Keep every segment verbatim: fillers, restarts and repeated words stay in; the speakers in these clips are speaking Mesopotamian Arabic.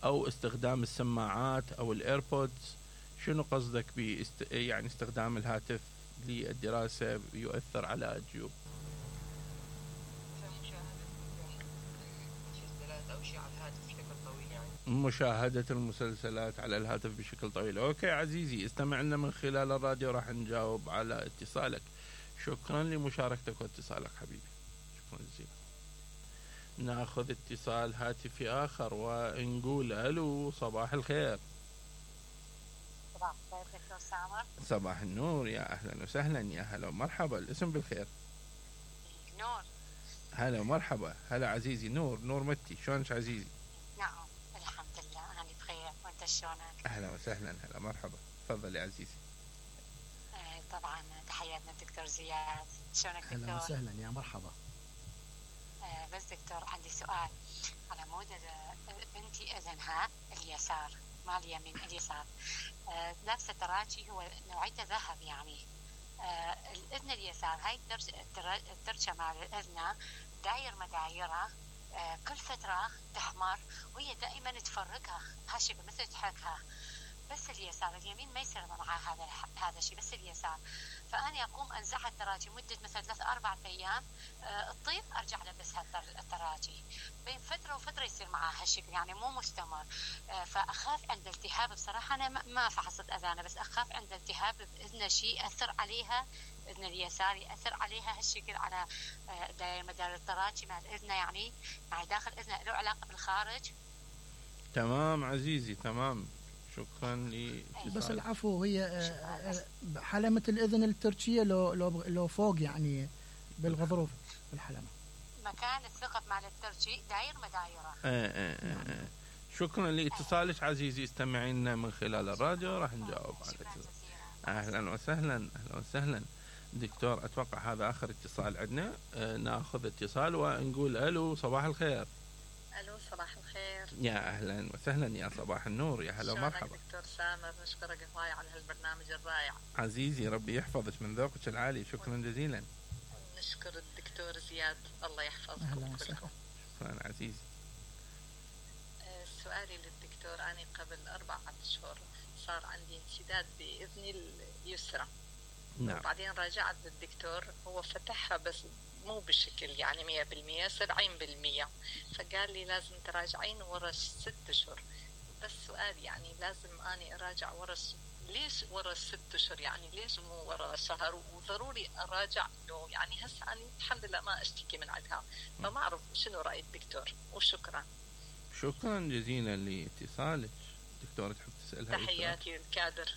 أو استخدام السماعات أو الإيربودز؟ شنو قصدك باست... يعني استخدام الهاتف للدراسة يؤثر على الجيوب؟ أو شيء على الهاتف بشكل طويل يعني. مشاهدة المسلسلات على الهاتف بشكل طويل. أوكي عزيزي، استمع لنا من خلال الراديو، راح نجاوب على اتصالك. شكرا لمشاركتك واتصالك حبيبي، شكرا جزيلا. ناخذ اتصال هاتفي آخر ونقول ألو، صباح الخير. صباح الخير دكتور سامر. صباح النور، يا أهلا وسهلا، يا هلا ومرحبا. الاسم بالخير؟ نور. هلا ومرحبا. هلا عزيزي نور، نور متي، شلونك عزيزي؟ نعم الحمد لله أنا بخير، وأنت شلونك؟ أهلا وسهلا، هلا مرحبا، تفضل يا عزيزي. آه طبعا تحياتنا الدكتور زياد، شلونك دكتور؟ أهلا وسهلا، يا مرحبا. آه بس دكتور عندي سؤال على مود بنتي أذنها اليسار، ما اليمين اليسار، آه لابسة تراجي هو نوعيته ذهب يعني. آه الأذن اليسار هاي الترشة مع الأذنة داير مدايرة، آه كل فترة تحمر وهي دائما تفرقها هالشي مثل تحركها، بس اليسار اليمين ما يصير معها هذا هذا الشيء، بس اليسار. فأنا أقوم أنزعها التراجي مدة مثلا ثلاث أربع أيام، أه الطيف أرجع لبسها التراجي، بين فترة وفترة يصير معها هالشكل يعني مو مستمر. أه فأخاف عند التهاب، بصراحة أنا ما فحصت أذانها، بس أخاف عند التهاب بإذن شيء أثر عليها، إذن اليسار يأثر عليها هالشكل على أه داير مدار التراجي مع الإذنة يعني مع داخل إذنها له علاقة بالخارج. تمام عزيزي تمام، شكرا لي. بس العفو، هي حلمة الإذن التركية لو لو لو فوق يعني بالغضروف في الحلمة، مكان الثقب مع التركي داير مدايرة. آه آه آه آه. شكرا لاتصالك عزيزي، استمعينا من خلال الراديو راح نجاوب على الاتصال. أهلا وسهلا، أهلا وسهلا دكتور. أتوقع هذا آخر اتصال عندنا. آه ناخذ اتصال ونقول ألو، صباح الخير. ألو صباح الخير. يا أهلا وسهلا، يا صباح النور، يا هلا ومرحبا. دكتور سامر، نشكرك هواي على هالبرنامج الرائع. عزيزي ربي يحفظك من ذوقك العالي، شكرا جزيلا. نشكر الدكتور زياد، الله يحفظكم. أهلا وسهلا. شكرا عزيزي. سؤالي للدكتور، أنا قبل أربعة أشهر صار عندي انسداد بإذني اليسرى. نعم. وبعدين راجعت للدكتور، هو فتحها بس مو بشكل يعني مية بالمية، سبعين بالمية، فقال لي لازم تراجعين ورا ست أشهر. بس سؤال يعني لازم أني أراجع ورا ليش ورا ست أشهر يعني، ليش مو ورا شهر؟ وضروري أراجع إنه يعني هسه أنا الحمد لله ما أشتكي من عندها، فما أعرف شنو رأي الدكتور. وشكرا. شكرا جزيلا لاتصالك. دكتورة تحب تسألها؟ تحياتي للكادر.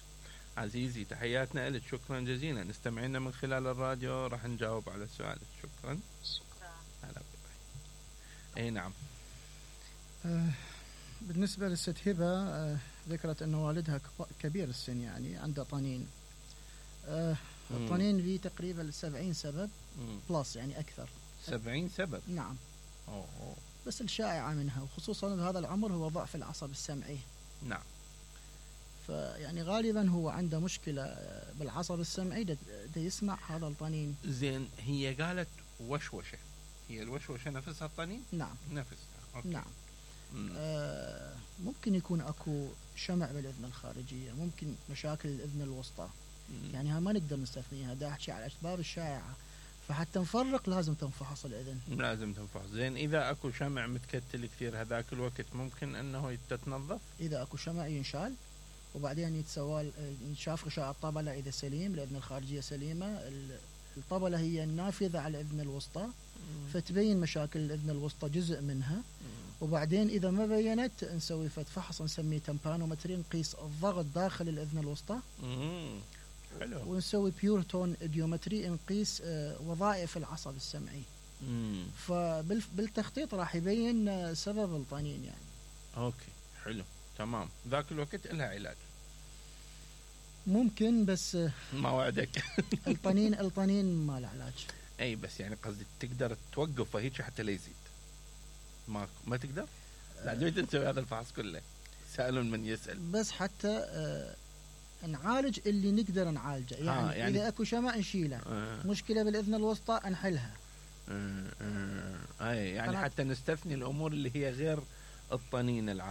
عزيزي تحياتنا لك، شكرا جزيلا. استمعينا من خلال الراديو راح نجاوب على سؤالك. شكرا. شكرا. هلا بك. اي نعم. آه بالنسبة للست هبة، آه ذكرت أن والدها كبير السن يعني عنده طنين. آه الطنين فيه تقريبا سبعين سبب مم. بلس يعني أكثر. سبعين سبب؟ نعم. أوه أوه. بس الشائعة منها وخصوصا بهذا العمر هو ضعف العصب السمعي. نعم. فيعني غالبا هو عنده مشكلة بالعصب السمعي، ده, ده يسمع هذا الطنين. زين، هي قالت وشوشة، هي الوشوشة نفسها الطنين؟ نعم نفسها. أوكي. نعم. آه ممكن يكون أكو شمع بالإذن الخارجية، ممكن مشاكل الإذن الوسطى. مم. يعني ها ما نقدر نستثنيها، دا أحكي على الأسباب الشائعة، فحتى نفرق لازم تنفحص الإذن. لازم تنفحص. زين، إذا أكو شمع متكتل كثير هذاك الوقت ممكن أنه تتنظف؟ إذا أكو شمع ينشال وبعدين يتسوى ينشاف غشاء الطبلة إذا سليم، الإذن الخارجية سليمة، الطبلة هي النافذة على الإذن الوسطى. مم. فتبين مشاكل الإذن الوسطى جزء منها. مم. وبعدين إذا ما بينت نسوي فحص نسميه تمبانومتري، نقيس الضغط داخل الإذن الوسطى. مم. حلو. ونسوي بيورتون إديومتري، نقيس وظائف العصب السمعي. مم. فبالتخطيط راح يبين سبب الطنين يعني. أوكي حلو تمام. ذاك الوقت لها علاج ممكن، بس ما وعدك. الطنين الطنين ما له علاج. اي بس يعني قصدي تقدر توقف هيك حتى لا يزيد؟ ما ما تقدر؟ لا دويت نسوي هذا الفحص كله، سأل من يسأل. بس حتى آه نعالج اللي نقدر نعالجه يعني, آه يعني إذا أكو شمع نشيله. آه مشكلة بالإذن الوسطى نحلها. آه آه آه يعني حتى نستثني الأمور اللي هي غير الطنين العام.